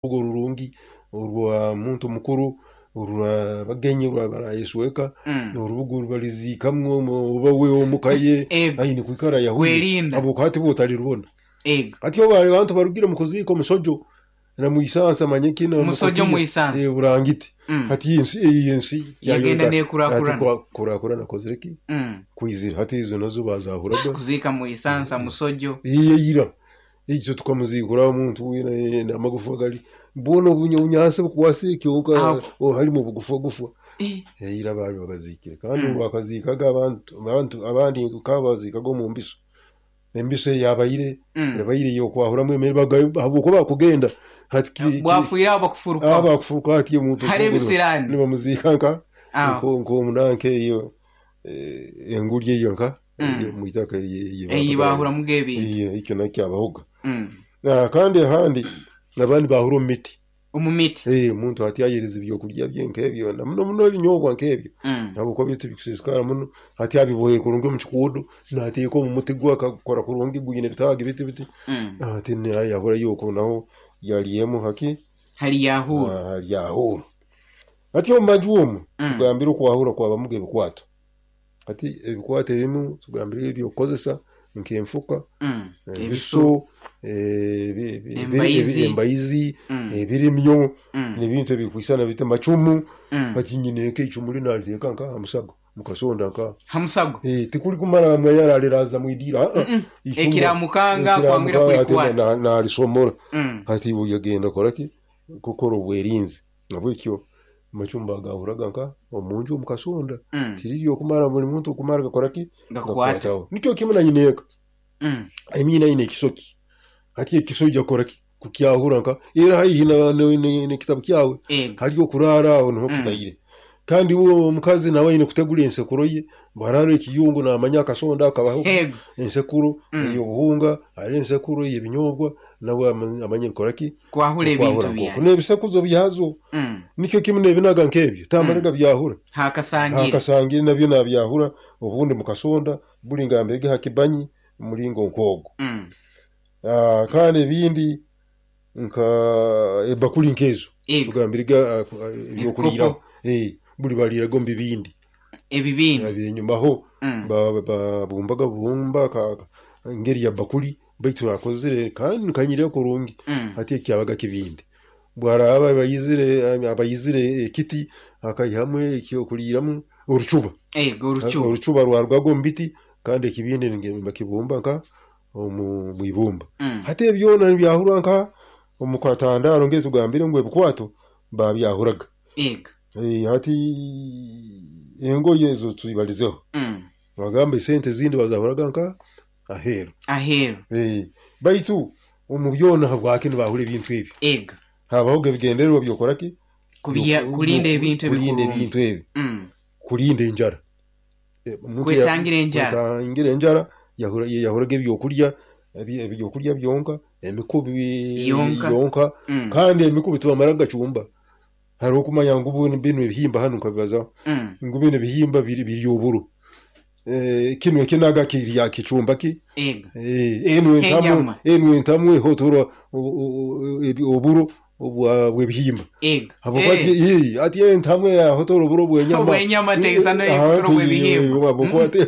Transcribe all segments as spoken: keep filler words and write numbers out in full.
Rurungi orwa muntu mukuru, orwa bagenyi barayesweka, Mm. orubuga rubaliziikamu oba we omuka ye Ego. aine kwikara yahwire, Kwerinda. Habwokuba hati bwe otalirubona. Ego. Hati obu abantu barugire omu kuziika omusojo namwisansa manye kinu Musojo mwisansa. Eh, burangiti. Mm. Hati ensi eyi ensi Yagenda nekurakurana. Hati kurakurana kozire ki? Mm. Kwizira. Hati izo nazo bazahuraga. Kuziika mwisansa musojo. Iye ira. Ekyo tukamuziikura omuntu weena amagufa gali bwona obunyansi bukwase kyonka Aho. Oh, halimu obugufa gufa. Eh. Eira baali babaziikire kandi Mm. bakaziikaga abantu abantu abandi nkabaziikaga omu mbiso. Embiso yabaire Mm. yabaire yokwahuramu emere habwokuba bakugenda hati ki- ki- Bwafuire aho bakufuruka. aba kufuruka hati omuntu Hari ebisirani. nibamuziika nka Aho. nk'omunanka eyo eh, enguli eyo nka Mm. eyo mwitaka Eyi bahuramu ebintu. Iyo ekyo nakyo kyabahoga. Mm. Na kandi ahandi abandi bahura omu miti. Omu miti. Eh, omuntu hati ayereza ebyokurya bye nk'ebyo na muno muno ebinyobwa nk'ebyo. Mm. Habwokuba byo tibikusiisikara muno hati abibohere kurungi omu kikuudo nateeka omu muti gwe akakora kurungi gwine ebitaagi biti biti. Mm. Hati yahura yuko naho yalyemu haki Hali yahura. Hali yahura. Hati omu maju omu Mm. tugambire okwahura kwabamuga ebikwato. Hati ebikwato ebimu tugambire ebyokukozesa nk'enfuka, Mm. ebiso, eh, ebi- ebi- Embaizi. embaizi, Mm. ebirimyo, Mm. n'ebintu ebikwisana bita macumu. Mm. Hati nyine nk'icumu linaliteeka nka hamusago mukasonda nka Hamusago. Eh, tikuli kumara mwanya aliraza mwidira. Ah, ah. Mm-mm. Icumu- Ekiramukanga kwangira ekiramukanga ate kulikwata. na- nalisomora. Mm. Hati yagenda koraki kukora obwerinzi nabwekyo amacumba agahuraga nka omunju omukasonda. Mm. Tiriri okumara buli muntu okumara gakoraki Gakwata. gakwataho nikyo kimu na nyineeka Mm. emyina aine ekisoki hati ekiso ija kukoraki kukyahura nka era haihi n'ekitabu kyawe. Ego. Hali okurara aho niho Mm. kutaire kandi uwo omukazi nawe aine kutegura ensekuro ye bwarara ekiyungu namanya akasonda akabaho Ego. ensekuro Mm. ey'obuhunga hari ensekuro ey'ebinyobwa nawe amanye amanye bikoraki Kwahura ebintu okwahura nk'oku byawe. n'ebisekuzo byazo Mm. nikyo kimu n'ebinaga nk'ebyo tamaraga byahura. Hakasangire. Hakasangire nabyo nabyahura obundi mukasonda buli ngambirege hakibanyi mulingo nk'ogwo. Mm. Ah, kandi ebindi nka ebakuli nk'ezo Ego. tugambirege ebyokuliiraho Eh, buli baliiraga omu bibindi. Ebibindi. Ebyenyumaho Mm. ba- babumbaga bubumba ka- ka- ngeri ya bakuli baitu bakozire kandi kanyire kurungi. Mm. Hati ekyabaga kibindi bwaraba abayizire abayizire ekiti akaihamu ekyokuliiramu orucuba. Ego orucuba. Orucuba rwarugaga omu biti kandi ekibindi nge- bakibumba nka omu mwibumba. Mm. Hati ebyona nibyahurwa nka omu katandaro ngeri tugambire ngu ebikwato babyahuraga. Ego. Eh, hati engoye ezo tubalizeho. Mm. Bagamba esente zindi bazahuraga nka aheeru. Aheeru. Eh, baitu omu byona habwaki nibahura ebintu ebyo? Ego. Habahoga ebigendererwa byokoraki Kubya kulinda ebintu kulinda ebikurungi. Ebintu ebi Mm. kulinda enjara. Eh, omuntu ya- Kwetangira enjara. Kwetangira enjara yahura yahuraga ebyokurya ebi- ebyokurya byonka emikubi Yonka. Yonka. Mm. Kandi emikubi tibamara gacumba hariho okumanya ngu bino bino ebihimba hanu nkabibazaho Mm. ngu bino ebihimba biri biri oburo. Eh, kinu ekinaga kirya kicumba ki. Ego. Eh, enu entamu Enyama. Enu entamu ehotora oburo obwa bw'ebihimba. Ego. Habwokuba Eh. ati eh, ati entamu yahotora oburo bw'enyama. Obw'enyama teisana Eh, ehotora ah, obw'ebihimba. habwokuba ati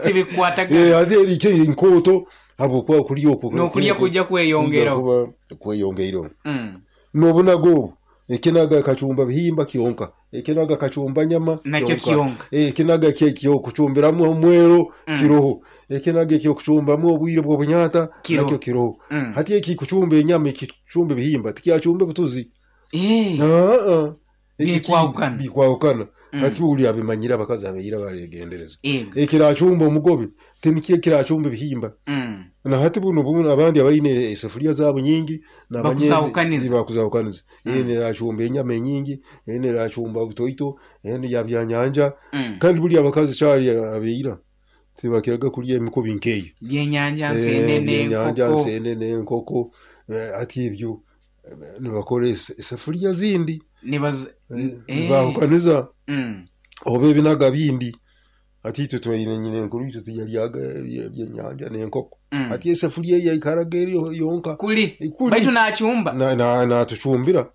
Tibikwataga. Eh, ati erike enkooto habwokuba okulya okwo N'okulya kujja kweyongeraho. Kuba kweyongeireho. Mm. N'obunaga obu ekinaga kacumba bihimba kyonka ekinaga kacumba nyama Nakyo kyonka. Eh, ekinaga kyokucumbiramu omwero Mm. kiroho ekinaga ekyokucumbamu obwire bw'obunyata Kiroho. nakyo kiroho. Mm. Hati ekikucumba enyama ekikucumba ebihimba tikyacumba obutuzi. Eh. Ah, ah. Ekyo ki- Bikwahukana. Bikwahukana. Mm. Hati buli abimanyire abakazi abaira baregendereza Ego. ekiracumba omugobe tinikyo ekiracumba ebihimba. Mm. Na hati buno buno abandi abaine esefuria zaabo nyingi nabanye- Bakuzahukaniza. Bakuzahukaniza. Mm. Ene eracumba enyama enyingi ene eracumba butoito ene ya byanyanja. Mm. Kandi buli abakazi kyali abeira tibakiraga kulya emikubi nkeyo. Byenyanja Eh, nsenene byenyanja enkoko. nsenene enkoko. Eh, ati ebyo eh, nibakora ese- esefuria zindi. Nibaz Eh, Eh. nibahukaniza Mm. oba ebinaga bindi. Hati itwe twaine nyina enkuru itwe tiyalyaga ebye- ebyenyanja n'enkoko. Mm. Hati esefuriya yaikaraga eri yonka. Kuli. Kuli. Baitu nachumba. Na- na- natucumbira.